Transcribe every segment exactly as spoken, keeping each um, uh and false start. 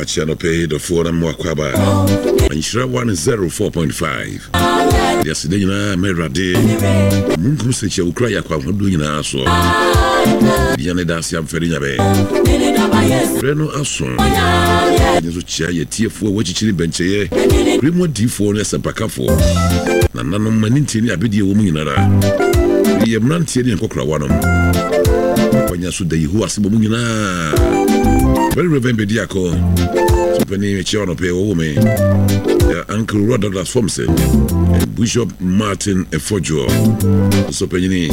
Makyia nɔpɛ yi dɔfoɔ na mmoakɔ aba Nhyira one oh four point five. De aseda nyinaa ma Awurade munkum sɛ kyia wokura yɛ akɔ ahodoɔ nyinaa soɔ bia ne da ase amfɛre nyabɛ berɛ no aso. Ɛne nso kyia yɛtiefoɔ a wɔakyikyiri bɛnkyɛeɛ kure mu, adiifoɔ ne asɛmpakafoɔ, nananom ani ntie ne abɛdeɛ wɔ mu nyinara, yɛ mmeranteɛ ne nkɔkorawa nom kwanya so da Yehowa ase bɔ mu nyinaa. Very Reverend Bediako sopani, mekyia ɔnɔpɛ wɔwɔ me Uncle Rod Douglas Fomse and Bishop Martin Efodwo sopanyini,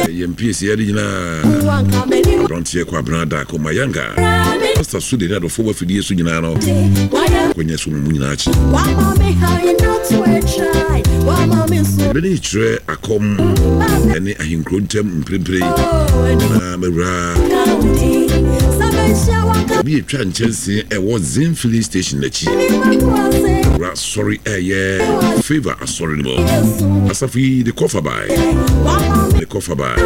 ɛyɛ mpiesi yɛde nyinaa aberanteɛ kɔ abena daako mayanga Pastor so de ne adɔfoɔ wɔ afidie so nyinaa no kwanya so mu nyinaa akyi. Mene kyerɛ akɔm ɛne ahenkuro ntam mprempren na mawura obi atwa nkyɛnsee ɛwɔ Zen Filling Station n'akyi wura asɔre, ɛyɛ Favour Asɔre no mu. Asafo yi de kɔfa bae de kɔfa bae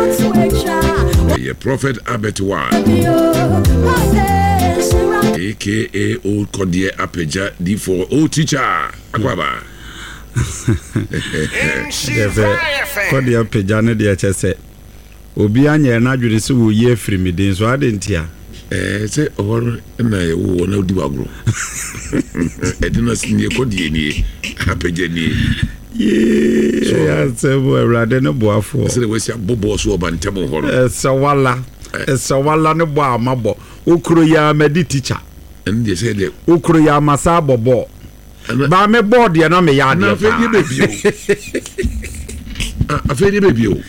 ɛyɛ Prophet Albert One, aka Old Kɔdeɛ Apagya D four Old Teacher Akwaba. Deɛ sɛ Kɔdeɛ Apagya no deɛ, kyɛ sɛ obi anyɛ n'adwene sɛ wɔyi afiri me din so ade nti a. Ɛɛ, sɛ ɔhɔ no na yɛwɔ wɔ na wodi wagorɔ ɛde no nie, kɔdeɛ nie, Apagya nie. Yee, asɛm, Awurade ne boafoɔ. Sɛdeɛ wasi abobɔɔ so ɔba ntɛm hɔ no. Ɛsɛ wala, ɛsɛ wala ne bɔ a mabɔ wokuro yi a madi teacher. Ɛno deɛ sɛ deɛ. Wokuro yi a masa abɔ bɔɔl baa me bɔɔl deɛ na meyɛ na adeɛ afei deɛ paa. Bɛbio afei deɛ bɛbio.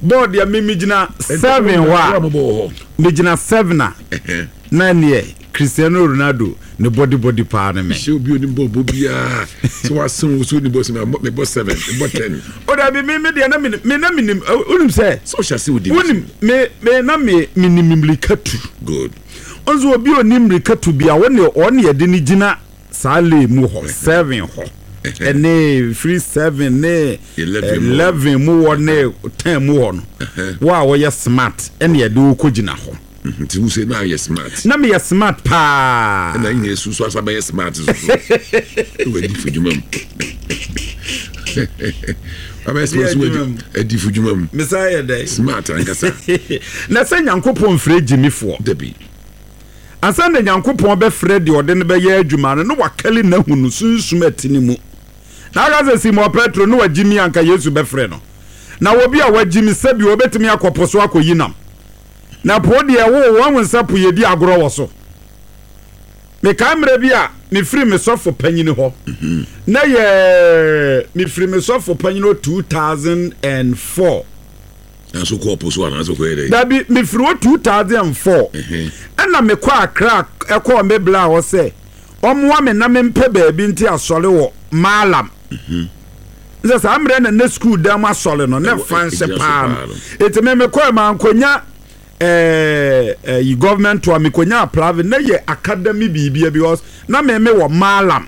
Bɔɔl deɛ me megyina seven hɔ a mobɔ wɔ hɔ. Megyina seven a na neɛ Cristiano Ronaldo ne body body paa ne me. Hyɛ obi onim bɔ bɔ biara sɛ wasen wo so ni bɔ sɛ mebɔ seven, mebɔ ten. O dabi, me me deɛ na me me na menim, wonim sɛ sɛ ɔhyɛ ase wodi. Wonim me me na me menim mmirika tu. Good. Nso obi a onim mmirika tu bi a wɔne ɔne yɛde ne gyina saa lane mu hɔ, seven hɔ ɛne firi seven ne Eleven mu. Eleven mu hɔ ne ten mu hɔ no, wo a wɔyɛ smart ɛne yɛde wo kɔ gyina hɔ. Nti wo sɛ na ayɛ smart. Na meyɛ smart paa. Ɛna nyina esu so asa bɛyɛ smart so so wadi fo dwuma mu, wabɛyɛ smart so wadi adi fo dwuma mu. Mesa yɛ dɛ. Smart ankasa. Na sɛ Nyankopɔn mfrɛ gyimifoɔ. Dabi. Ansa na Nyankopɔn bɛfrɛ deɛ ɔde no bɛyɛ adwuma no, na wakali n'ahu no sunsum ati ne mu na aka sɛ Simon Petro ne wagyimi anka Yesu bɛfrɛ no na obi a wagyimi sɛbi wɔbɛtumi akɔ po so akɔyi nam na po deɛ wo wɔn nsa po yɛdi agorɔ wɔ so. Mekae mmerɛ bi a mefiri me sɔfo panyini hɔ na yɛ mefiri me sɔfo panyini hɔ two thousand and four. Nanso kɔɔ po so anaasɛ kɔyɛ dɛ? Dabi, mefiri hɔ two thousand and four ɛna mekɔ Akra, ɛkɔɔ me bla hɔ sɛ ɔmmoa me na mempɛ baabi nti asɔre wɔ Maalam sɛ saa mmerɛ na ne school dan mu asɔre no ne Ɛwɔ- fa nhyɛ ɛgyina so paa paa no. No. Ɛnti me mekɔɛ ma nkonya ɛɛ ɛyi government to a mekonya private na yɛ academy biribia because na me me wɔ Maalam.